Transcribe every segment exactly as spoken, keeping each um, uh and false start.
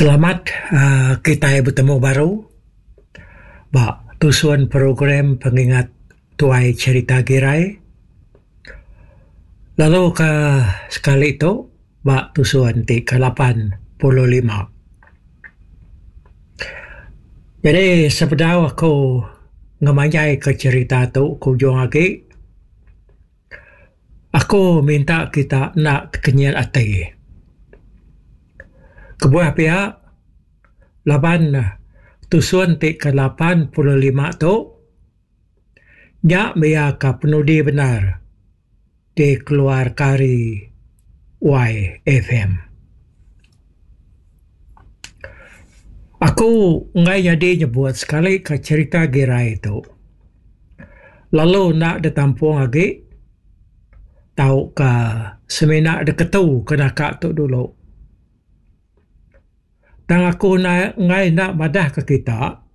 Selamat uhh kitai betemu baru ba tusun program pengingat tuai cerita Girai. Lalu ke sekali tu ba tusun ti ke lapan puluh lima. Jadi sebedau aku ngemanjai ke cerita tu ke ujung agi, aku minta kita enda tekenyit ati. Kebuah pia laban tusun ti ke lapan puluh lima tu nya mia ka penudi bendar dikeluarka ari Y F M. Aku enggai nyadi nyebut sekali ke cerita Girai tu lalu enda ditampung agi tauka semina diketu ke naka tu dulu. Tang aku enggai enda madah ke kita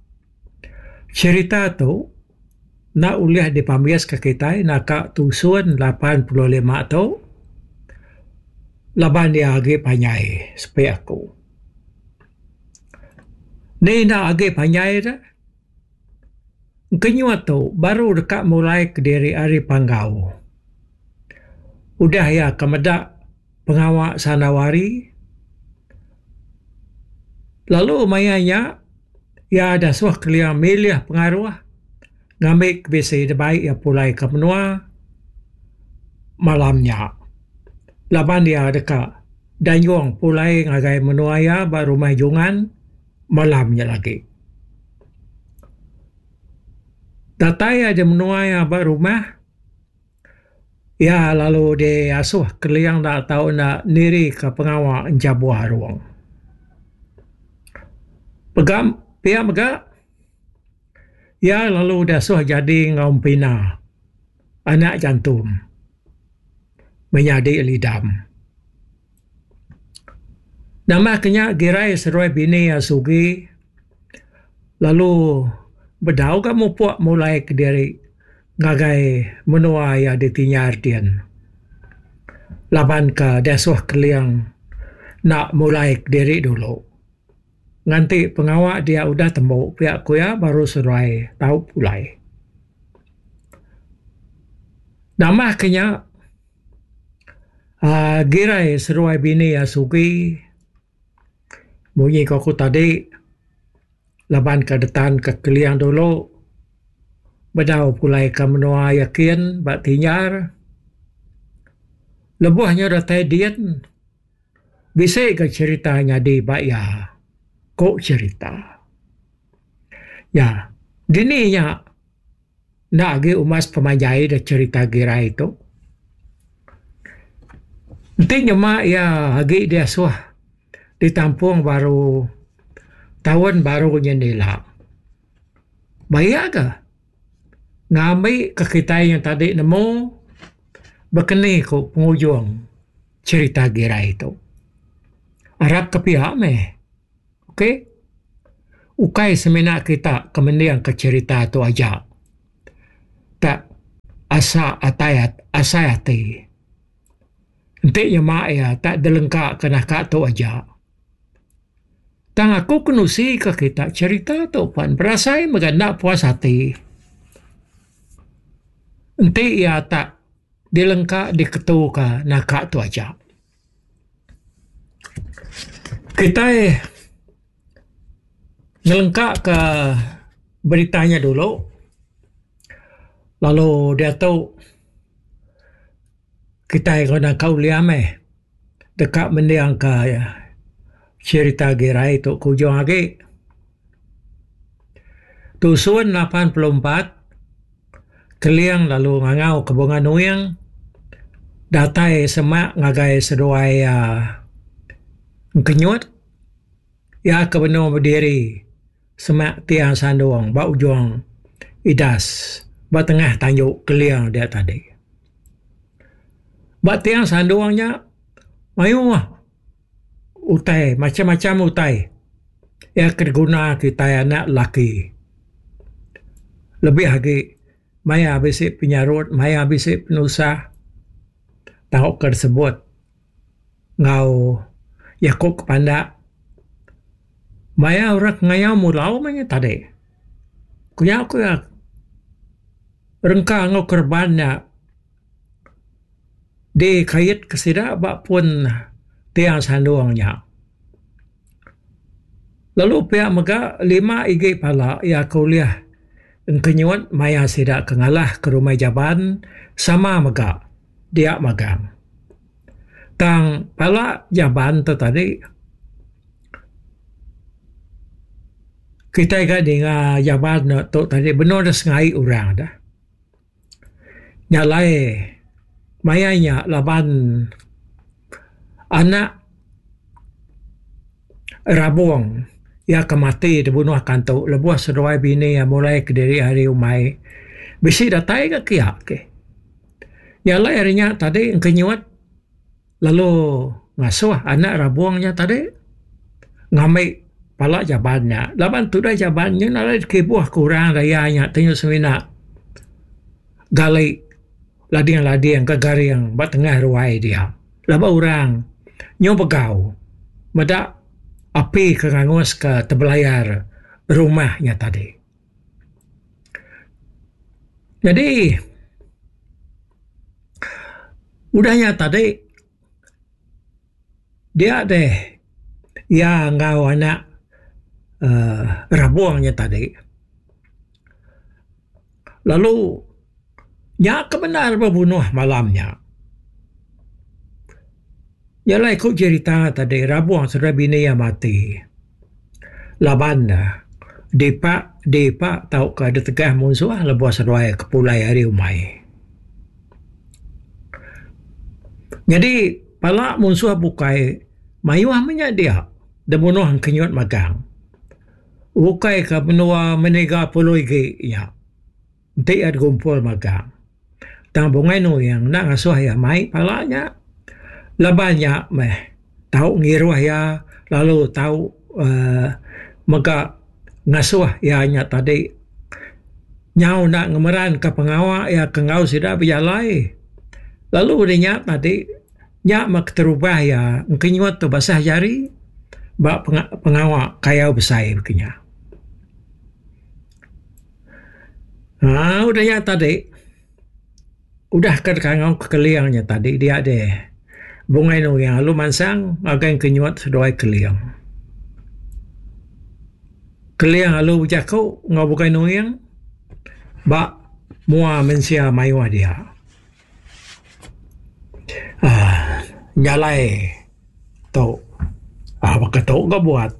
cerita tu enda ulih dipambis ke kitai naka tusun lapan puluh lima tu laban dia agi panjai sepi aku. Ni enda agi panjai dah. Kenyut tu baru deka mulai kediri ari Panggau. Udah iya ke meda pengawa Sanawari. Lalu maya nya iya dasuh kelia milih pengaruh ngambi ke bisi dibai iya pulai ke menua malam nya. Laban iya deka danyung pulai ngagai menua iya ba rumah Jungan malam nya lagi. Datai iya di menua iya ba rumah, iya lalu diasuh keling enda tau enda niri ke pengawa enjabuh arung. Pegam pia mega, iya lalu diasuh jadi enggau Empina, anak jantum, menyadi Lidam. Nambah ke nya Girai seruai bini iya Sugi, lalu bedau ga mupuk mulai kediri ngagai menua iya ditinjar din. Laban ke diasuh keling nak mulai kediri dulu. Nganti pengawa dia udah tembu pia ku iya baru seruai tau pulai. Nambah ke nya, uhh Girai seruai bini iya Sugi munyi ko aku tadi laban ke detan ke keling dulu bedau pulai ke menua iya kin ba Tinjar. Lebuh nya datai din bisi ga cerita nyadi ba iya. Ko cerita. Ya, dini nya enda agi umas pemanjai da cerita Girai tu. Enti nyema iya agi diasuh ditampung baru taun baru nya ila. Bayak ga ngambi ke kitai yang tadi nemu bekeni ko pengujung cerita Girai tu. Arap ke pia meh. Okey. Ukai semina kita ke mending ke cerita tu aja. Tak asa atai asai ati. Enti nyema iya tak dilengka ke naka tu aja. Tang aku kenusi ke kita cerita tu pan berasai mega enda puas ati. Enti iya tak dilengka diketu ke naka tu aja. Kitai ngelengka ke beritanya dulu. Lalu diatu kitai guna kau ulih meh deka mending ke cerita Girai tu ke ujung agi. Tusun lapan puluh empat Keling lalu ngangau ke Bunga Nuing datai semak ngagai seduai iya Engkenyut. Iya ke benung berdiri semak tiang sandung ba ujung idas ba tengah tanju Keling dia tadi. Ba tiang sandung nya mayuh utai macam-macam utai iya ke diguna kitai anak lelaki. Lebih agi maya bisi penyarut, maya bisi penusah tauka disebut enggau jaku ke pandak Maya orang ngayau mulau meh nya tadi. Ku nya ku iya rengka enggau kereban nya dikait ke sida ba pun tiang sandung nya. Lalu pia mega lima igi pala iya ke ulih engkenyut maya sida ke ngalah ke rumah Jaban sama mega dia magang. Tang pala Jaban tu tadi kitai ga ninga Jaban tu tadi benung da sengai orang da. Nya alai maya nya laban anak Rabong iya ke mati dibunuh kantu lebuh seduai bini iya mulai kediri ari umai bisi datai ga kiya ke. Nya alai ari nya tadi engkenyut lalu ngasuh anak Rabong nya tadi ngambi pala jaban nya laban tudah jaban nya nadai kibuh ke orang raya nya ti semina gali lading-lading ke garing ba tengah ruai dia. Laban orang nyu begau meda api ke ngangus ke tebelayar rumah nya tadi. Jadi udah nya tadi dia deh iya enggau anak uhh Rabong nya tadi. Lalu nya ke bendar bebunuh malam nya. Nya alai ku jerita tadi Rabong seduai bini iya mati laban ne dipa dipa tauka ditegah munsuh lebuh seduai ke pulai ari umai. Nyadi pala munsuh bukai mayuh meh nya dia dibunuh engkenyut magang. Ukai ka menua meniga puluh igi nya enti iya digumpul magang. Tang Bungai Nuing enda ngasuh iya mai pala nya. Laban nya meh tau ngiruh iya lalu tau uhh mega ngasuh iya nya tadi nyau enda ngemeranka pengawa iya ke enggau sida bejalai. Lalu udah nya tadi nya meh keterubah iya engkenyut tu basah jari ba pengawa kayau besai baka nya. Aaa udah nya tadi udah ke kangau ke Keling nya tadi dia deh Bungai Nuing lalu mansang ngagai engkenyut seduai Keling. Keling lalu bejaku enggau Bungai Nuing ba mua mensia mayuh dia. Aaa jalai tu aaa baka tu ga buat.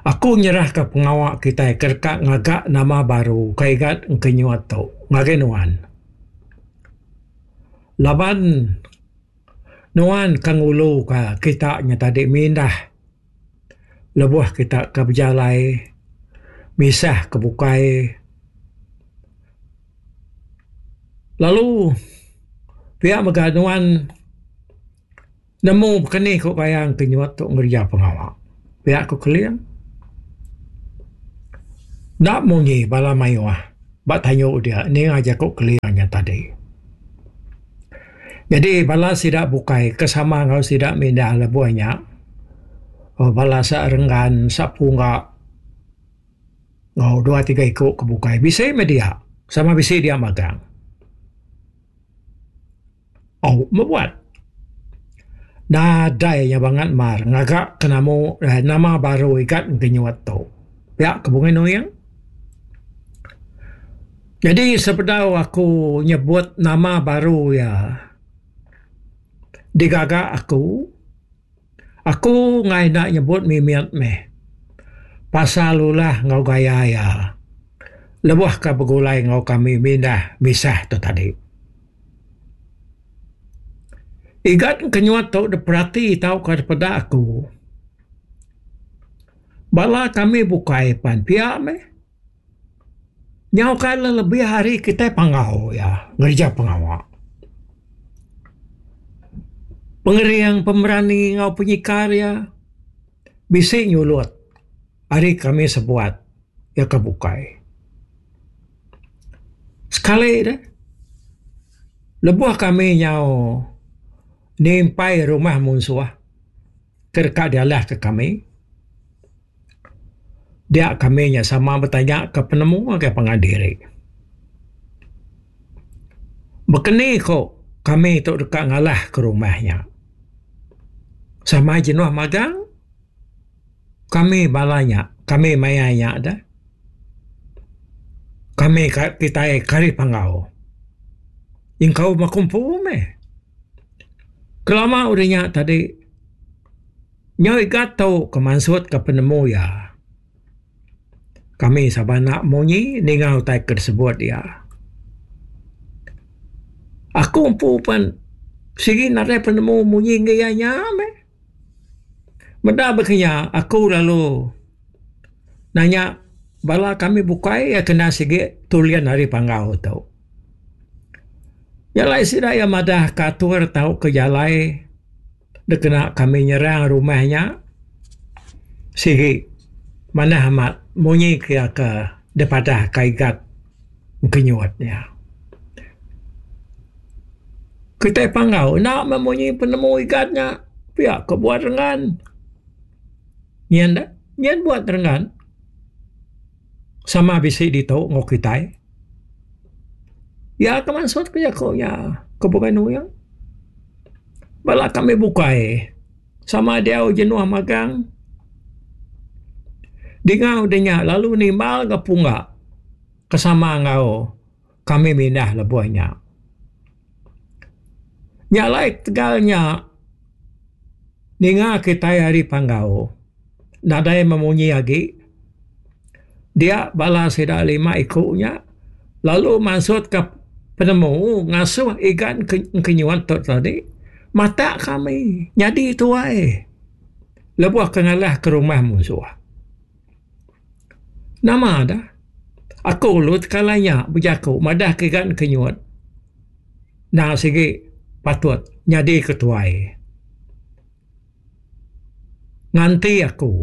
Aku nyerahka pengawa kitai ke deka ngaga nama baru ke igat engkenyut tu ngagai nuan. Laban nuan ke nguluka kita nya tadi mindah lebuh kita ke bejalai misah ke bukai lalu pia mega nuan nemu bekeni ku bayang ke nyuat tu ngereja pengawa. Pia ku Keling. Enda munyi bala mayuh ba tanyu dia ninga jaku Keling nya tadi. Jadi bala sida bukai ke sama enggau sida mindah lebuh nya bala sa Renggan, sa Pungga enggau dua tiga iku ke bukai bisi meh dia sama bisi dia magang. Au meh buat. Nadai nya bangat mar ngaga ke namu nama baru igat ngenyut tu. Pia ke Bungai Nuing. Jadi sebedau aku nyebut nama baru iya digaga aku, aku enggai enda nyebut mimit meh pasal ulah enggau gaya iya lebuh ka begulai enggau kami mindah misah tu tadi. Igat kenyut tu diperati tauka dipeda aku. Bala kami bukai pan pia meh. Nyau ka lebih ari kitai panggau iya ngereja pengawa. Pengering pemerani enggau penyikar iya bisi nyulut ari kami sebuat iya ke bukai. Sekali deh lebuh kami nyau nimpai rumah munsuh ke deka dialahka kami. Dia kami nya sama betanya ke penemu ngagai pangan diri. Bekeni ko kami tu deka ngalah ke rumah nya. Sama jenuh magang kami bala nya, kami maya nya dah. Kami kitai kari Panggau. Nyengkaum aku empu meh. Kelama udah nya tadi nyau igat tu ke mansut ke penemu iya. Kami saba enda munyi ninga utai ke disebut iya. Aku empu pen sigi nadai penemu munyi enggai iya nya meh. Meda baka nya aku lalu nanya bala kami bukai iya kena sigi tulin ari Panggau tu. Nya alai sida iya madah ka atur tauka jalai dikena kami nyerang rumah nya sigi manah amat munyi ke iya ke dipadah ka Igat Engkenyut nya. Kitai Panggau enda meh munyi penemu Igat nya pia ke buat Renggan. Nyin deh, nyin buat Renggan sama bisi ditu enggau kitai. Iya ke mansut ke jaku nya ke Bungai Nuing. Bala kami bukai sama diau jenuh magang. Dinga udah nya lalu nimbal ga pungga ke sama enggau kami mindah lebuh nya. Nya alai tegal nya ninga kitai ari Panggau nadai memunyi agi dia bala sida lima iku nya lalu mansutka penemu ngasuh Igan Engkenyut tu tadi matak kami nyadi tuai lebuh ke ngalah ke rumah munsuh. Nama dah aku lalu tekala nya bejaku madah ke Igan Engkenyut enda sigi patut nyadi ketuai. Nganti aku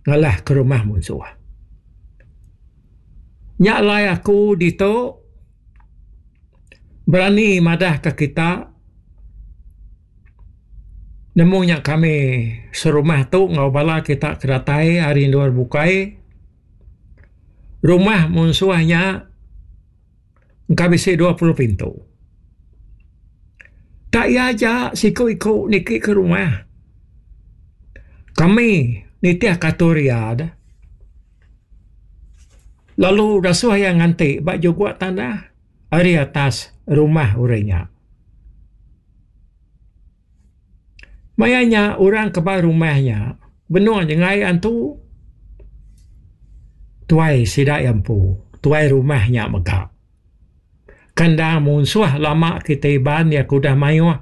ngalah ke rumah munsuh. Nya alai aku ditu berani madah ke kita nemu nya kami serumah tu enggau bala kita ke datai ari endur bukai. Rumah munsuh nya engka bisi dua puluh pintu. Tak iya aja siku-iku niki ke rumah. Kami nitih ke atur iya deh. Lalu dasuh iya nganti ba juguk tanah ari atas rumah orang nya. Maya nya orang ke ba rumah nya benung nyengai antu tuai sida iya empu, tuai rumah nya mega. Kandang munsuh lama kitai Iban iya ke udah mayuh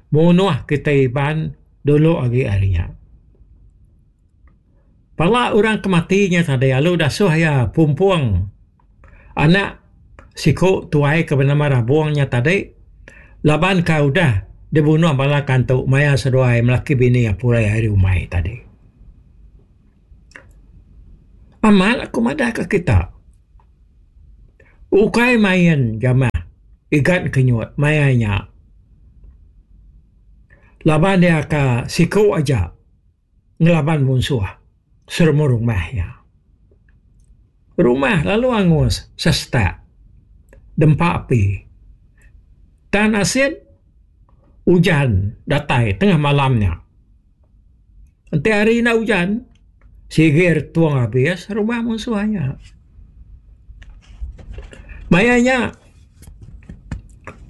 munuh kitai Iban dulu agi ari nya. Pala orang ke mati nya tadi lalu dasuh iya pumpung anak siku tuai ke benama Rabung nya tadi laban ke udah dibunuh bala kantu maya seduai melaki bini pulai ari umai tadi. Amat aku madah ke kita. Ukai main jamah Igat Kenyut maya nya. Laban iya ke siku aja ngelaban munsuh seremu rumah iya. Rumah lalu angus sesetak dempa api. Tang nasit ujan datai tengah malam nya. Enti hari enda ujan sigi retung abis rumah munsuh nya. Maya nya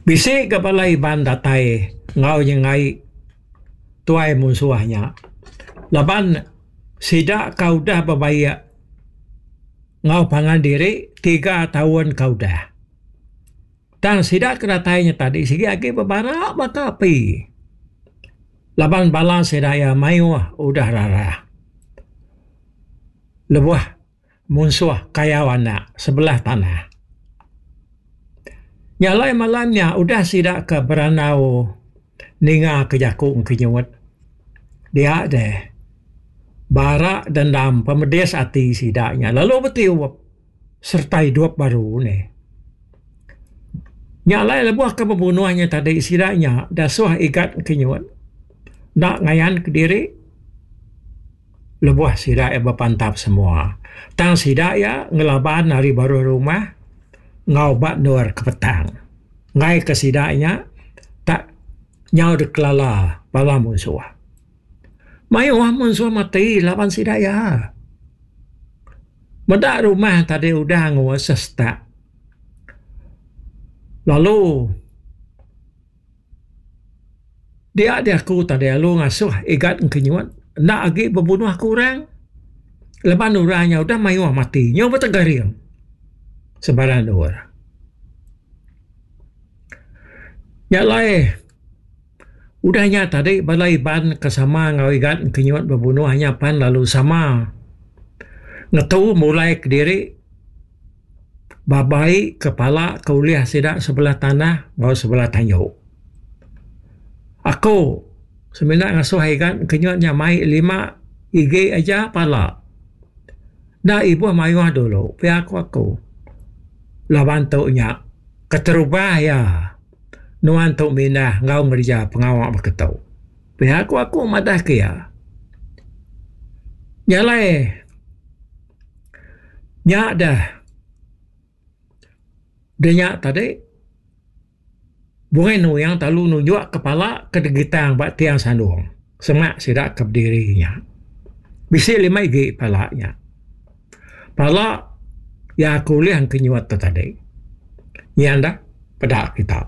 bisi ga bala Iban datai enggau nyengai tuai munsuh nya laban sida ka udah bebaik enggau pangan diri tiga taun ka udah. Tang sida ke datai nya tadi sigi agi bebara baka api laban bala sida iya mayuh udah rarah lebuh munsuh kayau anak sebelah tanah. Nya alai malam nya udah sida ke berandau ninga ke jaku Engkenyut dia deh bara dendam pemedis ati sida nya lalu betiup sereta idup baru neh. Nya alai lebuh ke bebunuh nya tadi sida nya dasuh Igat Engkenyut enda ngayan kediri Lebuh sida iya bepantap semua. Tang sida iya ngelaban ari baruh rumah enggau ba endur ke petang. Enggai ke sida nya tak nyau dikelala bala munsuh. Mayuh munsuh mati laban sida iya. Meda rumah tadi udah angus sesetak. Lalu dia diaku tadi lalu ngasuh Igat Engkenyut enda agi bebunuh ke orang laban orang nya udah mayuh mati nyau betegaring sebarang endur. Nya alai udah nya tadi bala Iban ke sama enggau Igat Engkenyut bebunuh nya pan lalu sama ngetu mulai kediri babai ke pala ke ulih sida sebelah tanah enggau sebelah tanju. Aku semina ngasuh Igat Engkenyut nya mai lima igi aja pala. Enda ibuh mayuh dulu pia ku aku. Laban tu nya keterubah iya nuan tu mindah enggau ngereja pengawa baka tu. Pia ku aku madah ke iya. Nya alai nya deh deh nya tadi Bungai Nuyang lalu nunjuk kepala ke digitang ba tiang sandung semak sida ke bediri nya. Bisi lima igi pala nya. Pala iya ke ulih engkenyut tu tadi. Nyin dah peda kita.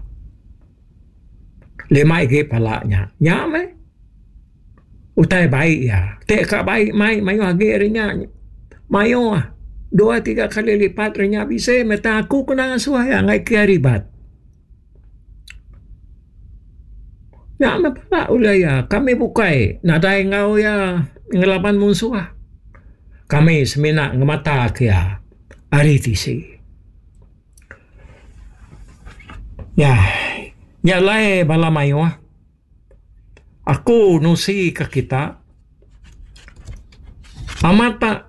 Lima igi pala nya. Nya meh utai bai iya. Ti ka bai mai mayuh agi ari nya. Mayuh dua tiga kali lipat ari nya bisi meh tang aku kena ngasuh iya ngagai ke ribat. Nya meh pala ulih iya. Kami bukai nadai enggau iya ngelaban munsuh. Kami semina ngemata ke iya ari tisi. Nya, nya alai bala mayuh aku nusi ke kita amat tak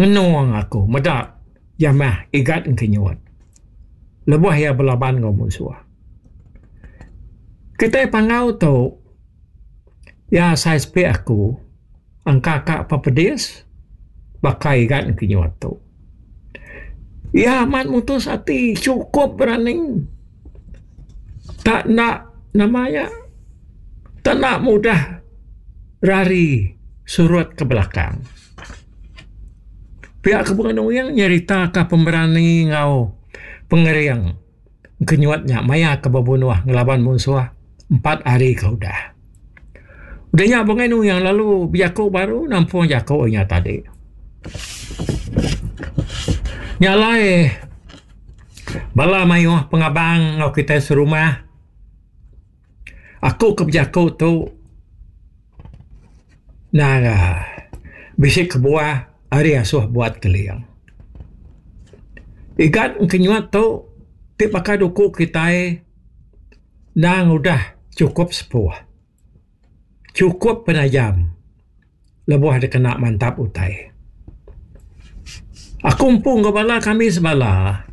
ngenung aku meda jamah Igat Engkenyut lebuh iya belaban enggau munsuh. Kitai Panggau tu iya asai sepi aku angka ka pepedis baka Igat Engkenyut tu. Iya amat mutus ati chukup berani tak enda nama iya tak enda mudah rari surut ke belakang. Pia ke Bunga Nuing nyeritaka pemerani enggau pengering Engkenyut nya maya ke bebunuh ngelaban munsuh empat hari ke udah. Udah nya Bungai Nuyang lalu bejaku baru nampung jaku inya tadi. Nya alai bala mayuh pengabang enggau kitai serumah aku ke bejaku tu nara bisi kebuah ari asuh buat keling. Igat engkenyut tu ti baka duku kitai endang udah chukup sepuh. Chukup penajam lebuh dikena mantap utai. Aku empu enggau bala kami sebala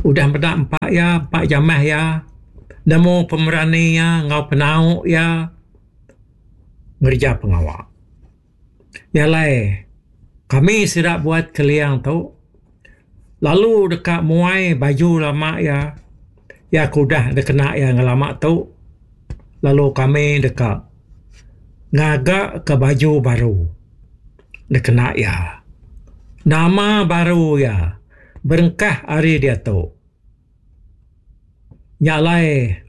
udah meda empa iya, empa jamah iya, nemu pemerani iya enggau penau iya ngereja pengawa. Nya alai kami sida buat keling tu lalu deka muai baju lama iya, iya ke udah dikena iya ngelama tu lalu kami deka ngaga ke baju baru dikena iya. Nama baru iya berengkah ari diatu. Nya alai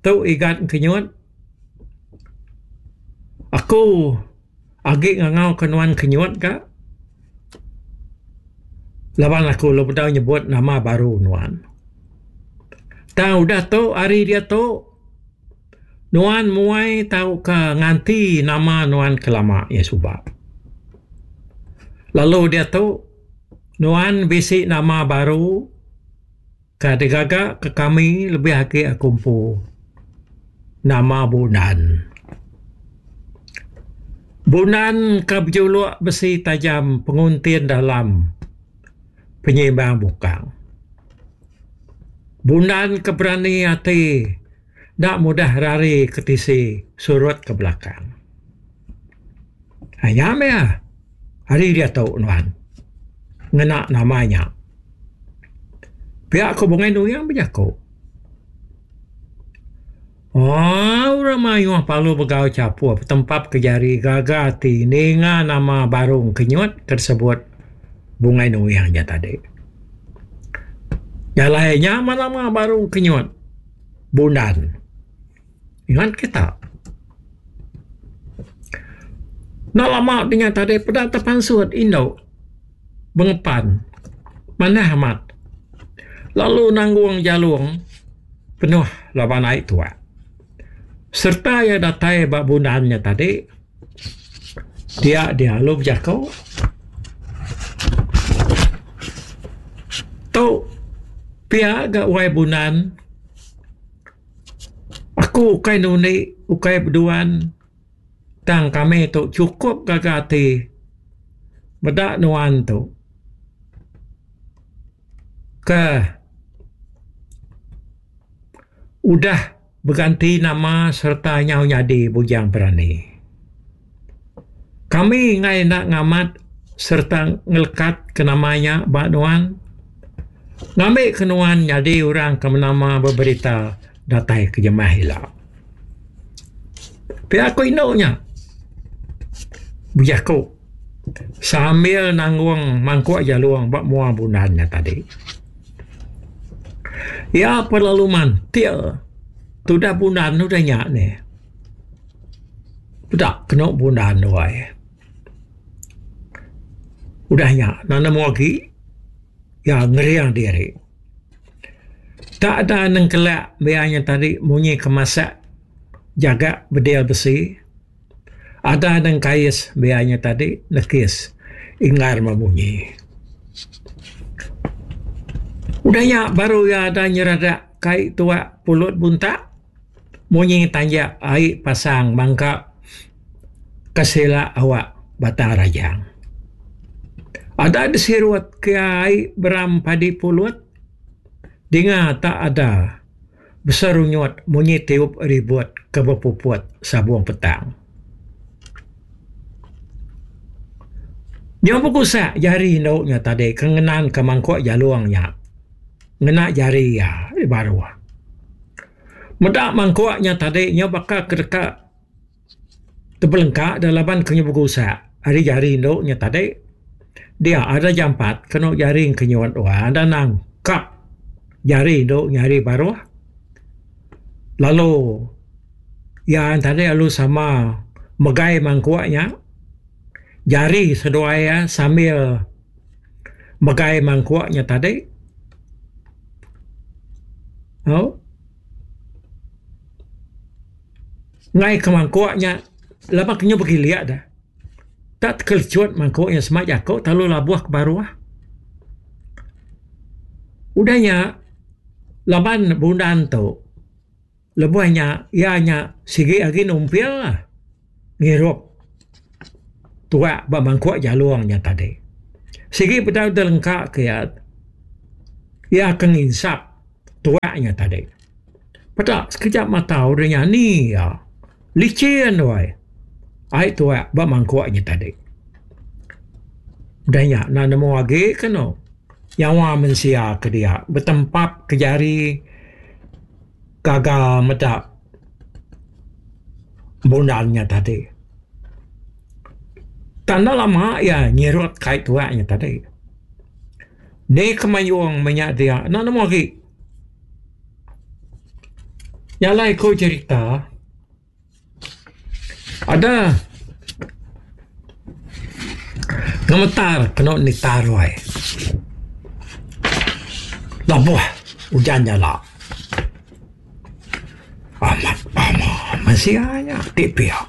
tu Igat Engkenyut aku agi ngangau ke nuan Kenyut ka laban aku lalu bedau nyebut nama baru nuan. Tang udah tu ari diatu nuan muai tauka nganti nama nuan ke lama iya suba. Lalu diatu nuan bisi nama baru ke digaga ke kami lebih agi aku empu nama Bundan. Bundan ke bejuluk besi tajam penguntin dalam penyimbang bukang. Bundan ke berani ati enda mudah rari ke tisi surut ke belakang. Nya meh ari diatu nuan ngena nama nya. Pia ku Bungai Nuing bejaku. Ooh orang mayuh parlu begau chapuh betempap ke jari gaga ati ninga nama baru Engkenyut ke disebut Bungai Nuing nya tadi. Jalai nya mah nama baru Engkenyut Bundan. Ingat kita. Enda lama dinya tadi peda tepansut indu bengepan manah amat lalu nanggung jalung penuh laban ai tuak. Sereta iya datai ba bundan nya tadi, dia dia lalu bejaku, Tu pia ga wai bundan, aku ukai nundi ukai beduan tang kami tu chukup gaga ati meda nuan tu. Ke udah beganti nama sereta nyau nyadi Bujang Berani. Kami enggai enda ngamat sereta ngelekat ke nama nya ba nuan ngambi ke nuan nyadi orang ke menama beberita datai ke jemah ila. Pia ku indu nya bejaku. Sambil nanggung mangkuk jalung ba mua bundan nya tadi. Iya pun lalu mantil tudah bundan udah nya nih. Peda kenu bundan wai. Udah nya enda nemu agi iya ngering diri. Tak ada nengkelak biya nya tadi munyi ke masak jaga bedil besi. Ada nengkais biya nya tadi nekis inggar memunyi. Udah nya baru iya ada nyeradak kai tuak pulut buntak munyi tanjak ai pasang mangka kesila awak Batang Rajang. Ada disirut ke ai beram padi pulut dinga tak ada. Beserunyut munyi tiup ribut ke bepuput sabung petang. Nyau begusak jari indu nya tadi ke ngenanka mangkuk jalung nya ngena jari iya di baruh. Meda mangkuk nya tadi nyau baka ke deka tebelengka da laban ke nyau begusak ari jari indu nya tadi dia ada jampat kenu jari engkenyut wang da nangkap jari indu nya ari baruh lalu iya tadi lalu sama megai mangkuk nya jari seduai iya sambil megai mangkuk nya tadi au Ngai ke mangkuk nya laban ke nyu begilik da. Tak tekelecut mangkuk nya sema jaku telalu labuh ke baruh. Udah nya laban bundan tu lebuh nya iya nya sigi agi numpil lah ngirup tuak ba mangkuk jalung nya tadi. Sigi peda deh lengka ke iya, iya ke nginsap tuak nya tadi. Peda sekejap mata udah nya ni iya licin wai ai tuak ba mangkuk nya tadi. Udah nya enda nemu agi ke enu nyawa mensia ke dia betempap ke jari gaga meda bundan nya tadi. Tang enda lama iya nyirut kai tuak nya tadi. Ni kemayung menya dia enda nemu agi. Nya alai ku cherita ada ngemetar kenu nita ruai lebuh ujan nyala amat pama mensia nya ti pia.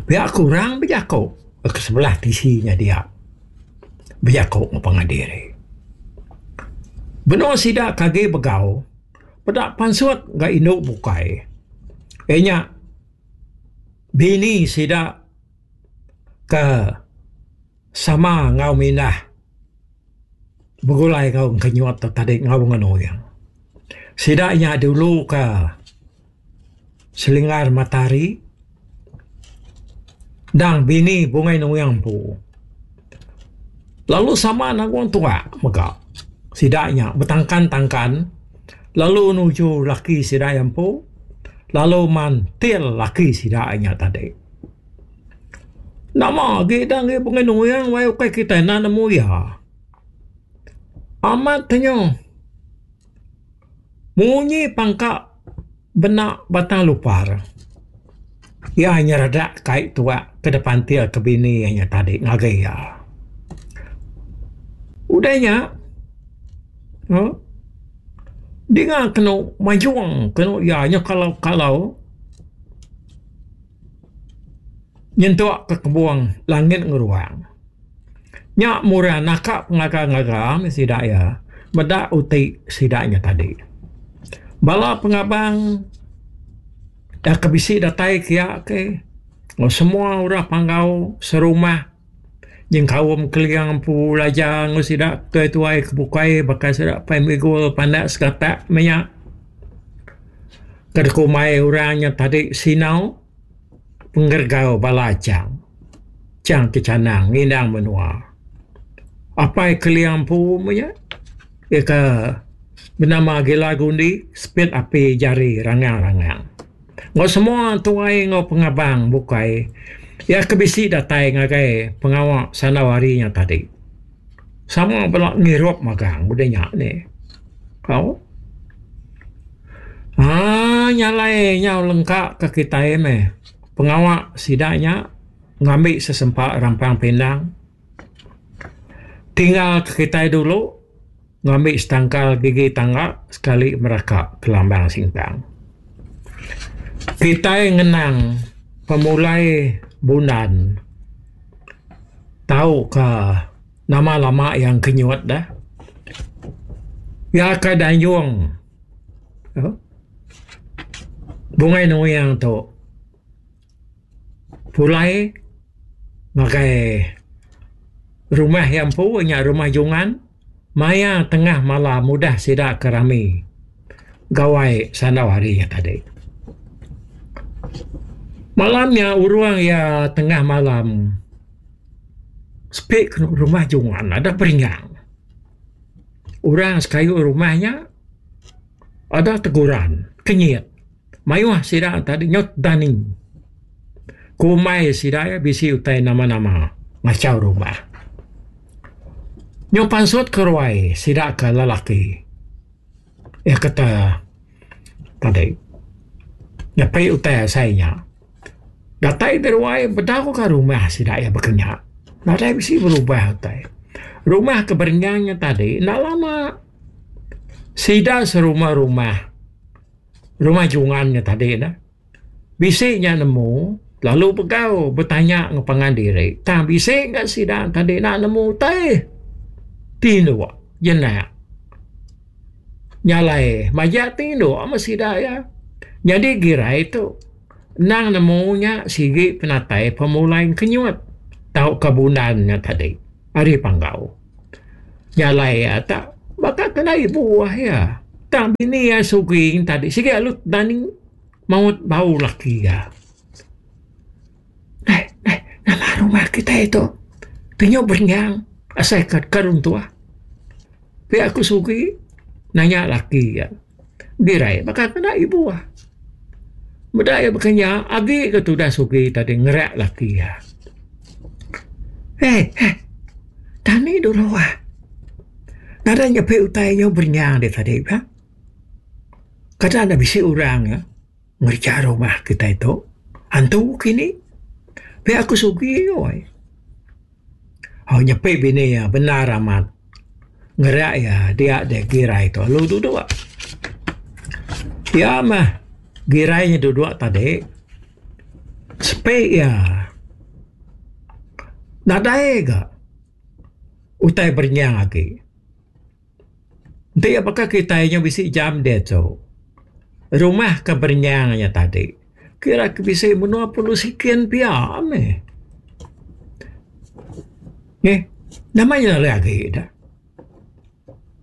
Pia kurang bejaku ke sebelah tisi nya dia. Bejaku enggau pangan diri. Benung sida ke agi begau peda pansut ga indu bukai. Iya nya bini sida ke sama enggau mindah begulai enggau engkenyut tu tadi enggau ngenuyang. Sida nya dulu ka Selinggar Matahari. Dang bini Bungai Nuing empu. Lalu sama nanggung tuak mega. Sida nya betangkan-tangkan lalu nuju laki sida iya empu lalu mantil laki sida nya tadi. Nama agi dang agi Bungai Nuing wai ukai kitai enda nemu iya. Amat tenyo munyi pangka bena Batang Lupar. Iya nyeredak kai tuak ke depantil ke bini iya nya tadi ngagai iya. Udah nya uhh dinga kenu majung kenu iya nya kalau-kalau nyentuk ke kebung langit ngeruang. Nya murah naka pengaga-ngaga meh sida iya meda uti sida nya tadi. Bala pengabang da ke bisi datai kiya ke enggau semua orang panggau serumah nyengkaum Keling empu Laja enggau sida tuai-tuai ke bukai baka sida Pai Migul Pandak Segatak meh nya ke dikumbai orang nya tadi Sinau Penggergau bala Chang. Chang Kechanang ngindang menua. Apai Keling empu meh nya iya ke benama Gila Gundi sepit api jari rangang-rangang. Enggau semua tuai enggau pengabang bukai iya ke bisi datai ngagai pengawa sandau hari nya tadi. Sama bela ngirup magang udah nya nih. Au. Aaa nya alai nyau lengka ke kitai meh pengawa sida nya ngambi sesempa rampang pindang. Tinggal ke kitai dulu ngambi setangkal gigi tangga sekali meraka kelambang singkang. Kitai ngenang pemulai bundan tauka nama lama iya engkenyut deh. Iya ke dayung Bungai Nuing tu pulai ngagai rumah iya empu nya rumah Jungan maya tengah malam udah sida ke rami gawai sandau hari nya tadi. Malam nya urung iya tengah malam sepi ke rumah Jungan ada peringang. Orang sekayu rumah nya ada teguran kenyit. Mayuh sida tadi nyau dani. Kumbai sida iya bisi utai nama-nama ngachau rumah. Nyau pansut ke ruai sida ke lelaki. Iya kata tadi nyepi utai asai nya. Datai di ruai bedau ka rumah sida iya baka nya. Nadai bisi berubah utai. Rumah ke berenyang nya tadi enda lama sida serumah-rumah. Rumah Jungan nya tadi ne bisi nya nemu lalu begau betanya enggau pangan diri tang bisi ga sida tadi enda nemu utai tinduk jenak. Nya alai majak tinduk meh sida iya nyadi girai tu endang nemu nya sigi penatai pemulai kenyut tauka bundan nya tadi ari Panggau. Nya alai iya tak baka kena ibuh iya. Tang bini iya Suging tadi sigi alu dani maut bau laki iya. Neh neh nama rumah kitai tu pinyu berenyang asai ka ka runtuh. Pia ku Sugi nanya laki iya. Birai baka kena ibuh. Meda iya baka nya agi ke tudah Sugi tadi ngerak laki iya. Heh heh tani dulu ah. Nadai nyepi utai nyau berenyang deh tadi ka. Kada ne bisi orang ne ngereja rumah kitai tu antu kini. Pia ku Sugi weh. Au nyepi bini iya bendar amat ngerak iya dia deh girai tu lalu duduk. Iya mah girai nya duduk tadi sepi iya nadai ga. Utai berenyang agi. Enti iya baka kitai nya bisi jam diatu. Rumah ke berenyang nya tadi kira ke bisi menua pulu sikin pia meh. Neh nama nya alai agi da.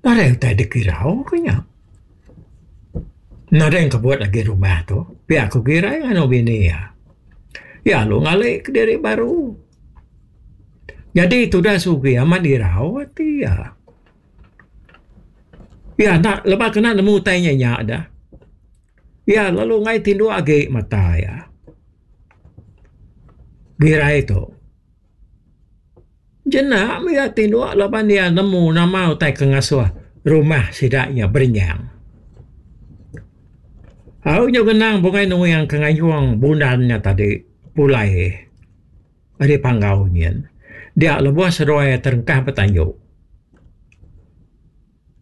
Nadai utai dikirau ke nya. Nadai kebut agi rumah tu pia ku girai nganu bini iya. Iya lalu ngali kediri baru. Nyadi tudah Sugi amat irau ati iya. Iya enda lebuh kena nemu utai nya nya dah. Iya lalu enggai tinduk agi mata iya. Girai tu. Jenak meh iya tinduk laban iya nemu nama utai ke ngasuh rumah sida nya berenyang. Au nyau ngenang Bungai Nuing ke ngayung bundan nya tadi pulai ari panggau nyin. Dia lebuh seduai terengkah betanju.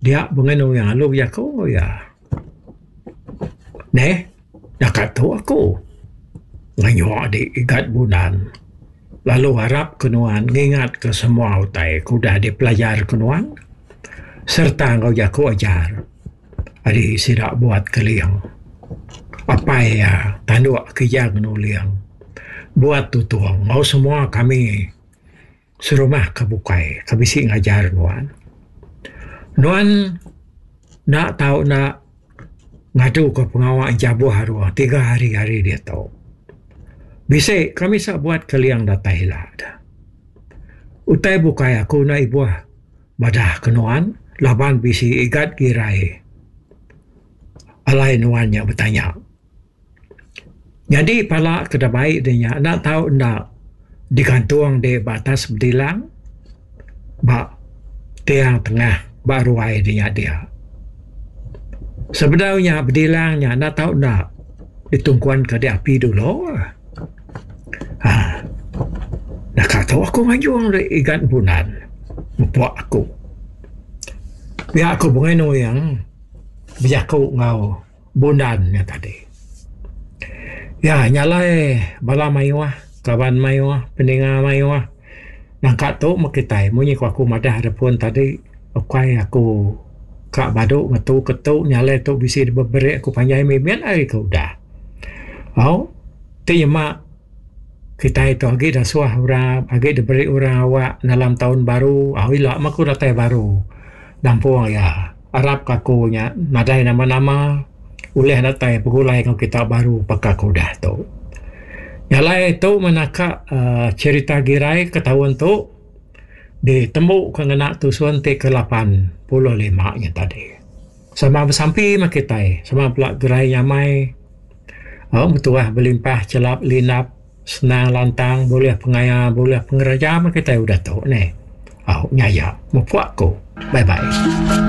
Dia Bungai Nuing lalu bejaku enggau iya. Neh, naka tu aku ngayung adi igat bundan lalu arap ke nuan ngingat ke semua utai ke udah dipelajar ke nuan sereta enggau jaku ajar ari sida buat keling. Apai iya tanduk kijang nuling buat tutung enggau semua kami serumah ke bukai ke bisi ngajar nuan. Nuan enda tau enda ngadu ke pengawa jabuh aruh tiga hari ari diatu. Bisi kami sa buat keling datai ila da. Utai bukai aku enda ibuh madah ke nuan laban bisi igat girai alai nuan nya betanya. Nyadi pala ke da bai de nya enda tau enda digantung de ba atas bedilang ba tiang tengah ba ruai de nya dia. Sebedau nya bedilang nya enda tau enda ditungkun ke de api dulu. Haa naka tu aku ngajung de igat bunan mupuk aku. Pia ku Bungai Nuing bejaku enggau Bundan nya tadi. Ya nya alai bala mayuh, kaban mayuh, peninga mayuh nangka tu meh kitai munyi ku aku madah da pun tadi ukai aku ka badu ngetu ke tu nya alai tu bisi beberi aku panjai mimit ari ke udah. Au ti nyema kitai tu agi da suah orang agi diberi orang awak dalam taun baru au ila meh aku datai baru nampung iya. Arap ka aku nya nadai nama-nama ulih datai begulai enggau kita baru baka ke udah tu. Nya alai tu meh naka uhh cherita girai ke taun tu ditembu ke ngena tusun ti ke lapan puluh lima nya tadi. Sama besampi meh kitai sama bela gerai nyamai au betuah belimpah chelap lindap senang lantang bulih pengaya bulih pengereja meh kitai udah tu neh. Au nya iya mupuk aku. Bye bye.